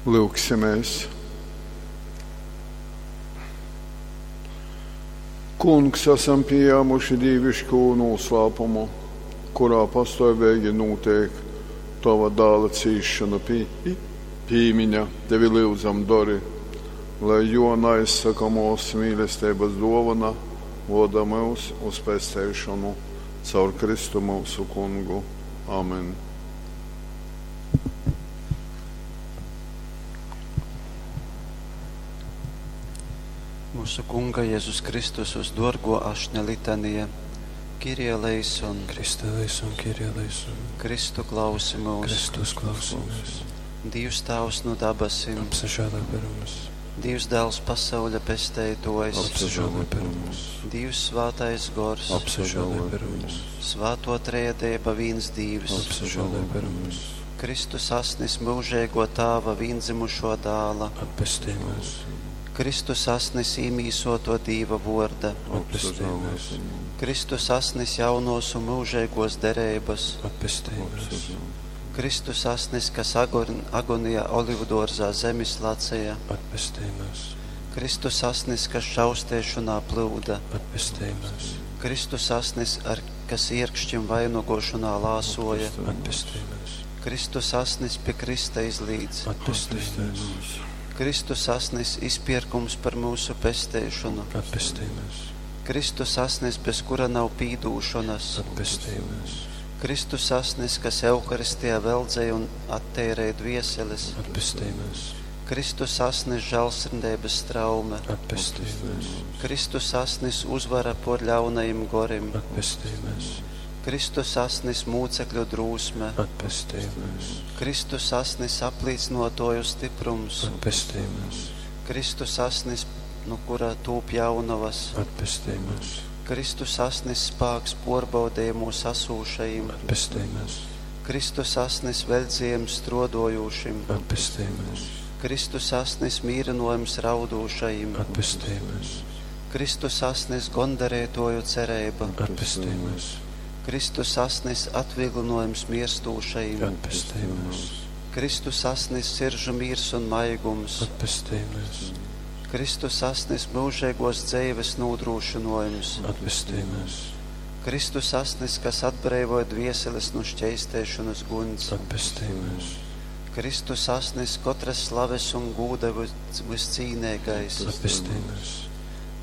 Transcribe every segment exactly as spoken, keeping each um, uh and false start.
Lyugsimēs. Kungs, esam pījāmuši dīviškū noslēpumu, kurā pastāvīgi notiek tava dēla cīšanu pī, pīmiņa. Tevi lyudzam, dori, lai jo neizsakamōs mīlestības dōvana voda mūs uz pesteišonu caur Kristu mūsu kungu. Amen. Mūsu Kunga Jēzus Kristus uz dorgo ašņa litanija, Kyrie eleison, Christe eleison, Kyrie eleison, Kristu klausi mūs, Kristus klausi mūs, Dievs Tēvs no dabasim, apsažēlē par mums, Dievs Dēls pasauļa pesteitojs, apsažēlē par mums, Dievs Svētais Gors, apsažēlē par mums, Svēto Trejadība vīns Dievs, apsažēlē par mums, Kristus asnis mūžīgo Tāva vīndzimušo dāla, atpestī mūs, Kristus asnis īmīsoto Dīva vorda, atpestī mūs, Kristus asnis jaunos un mūžīgos derības, atpestī mūs, Kristus asnis, kas agon, agonijā olivdorzā zemis lacēja, atpestī mūs, Kristus asnis, kas šaustēšanā plūda, atpestī mūs, Kristus asnis, ar kas iekšķim vainagošanā lāsoja, atpestī mūs, Kristus asnis pie Krista izlīdz, atpestī mūs, Kristus asnis izpirkums par mūsu pestēšanu, atpestī mūs, Kristus asnis, bez kura nav pīdūšanas, atpestī mūs, Kristus asnis, kas Euharistijā veldzēja un attērēja dvieseles, atpestī mūs, Kristus asnis žēlsirdības straume, atpestī mūs, Kristus asnis uzvara por ļaunajiem gorim, atpestī mūs, Kristus asnis mūcekļu drūsme, atpestī mūs, Kristus asnis aplīcinotoju stiprums, atpestī mūs, Kristus asnis, no kura tūp jaunavas, atpestī mūs, Kristus asnis spāks porbaudījumos asūšajiem, atpestī mūs, Kristus asnis veldzījiem strodojušim, atpestī mūs, Kristus asnis mīrinojums raudūšajiem, atpestī mūs, Kristus asnis gondarētoju cerība, atpestī mūs, Kristus asnis atvieglinojums mirstūšajiem, atpestī mūs, Kristus asnis siržu miers un maigums, atpestī mūs, Kristus asnis mūžīgos dzīves nodrošinojums, atpestī mūs, Kristus asnis, kas atbrīvoja dvieseles no šķeistēšanas guns, atpestī mūs, Kristus asnis katras slaves un gūda vis- viscīnīgais, atpestī mūs,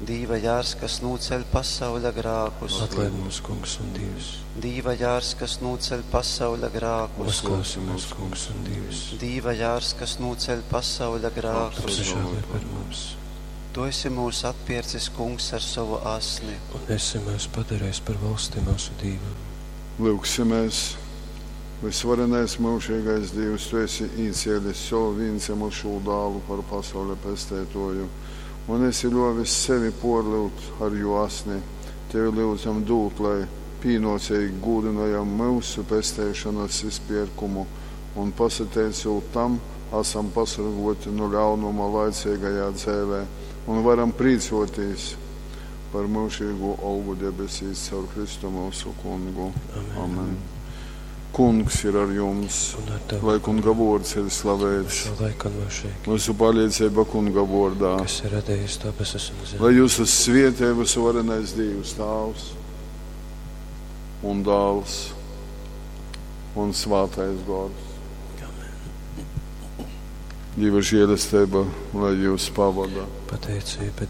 Dīva jārs, kas nūceļ pasauļa grākus, atlaid mūs, kungs un Dievs, Dīva jārs, kas nūceļ pasauļa grākus, uzklausi mūs, kungs un Dievs, Dīva jārs, kas nūceļ pasauļa grākus. apsažēlē par mums, Tu esi mūs atpircis, kungs, ar savu asni. un esi mūs padarījis par valsti mūsu Dievam. Lūgsimies! Visvarenais mūžīgais Dievs, Tu esi īcēlis savu vienzimušo dālu par pasaules pestētoju, un esi ļovis sevi porliut ar jo asni. Tevi lūdzam dūt, lai pīnocīgi gūdinojam mūsu pestēšanas izpirkumu, un pasateicot tam, esam pasargoti no ļaunuma laicīgajā dzēvē, un varam prīcoties par mūžīgo algu debesīs caur Kristu mūsu kungu. Amen. Amen. Kungs ir ar jums, Un ar tavu lai kunga vārds ir slavēts. šo laiku un mūžīgi, Mūsu palīdzība kunga vārdā. kas ir radījis debesis un zemi. Lai jūs svietē visvarenais Dievs Tāvs un Dāls un Svētais Gors. Amen. Dieva žēlastība, lai jūs pavada. Pateicība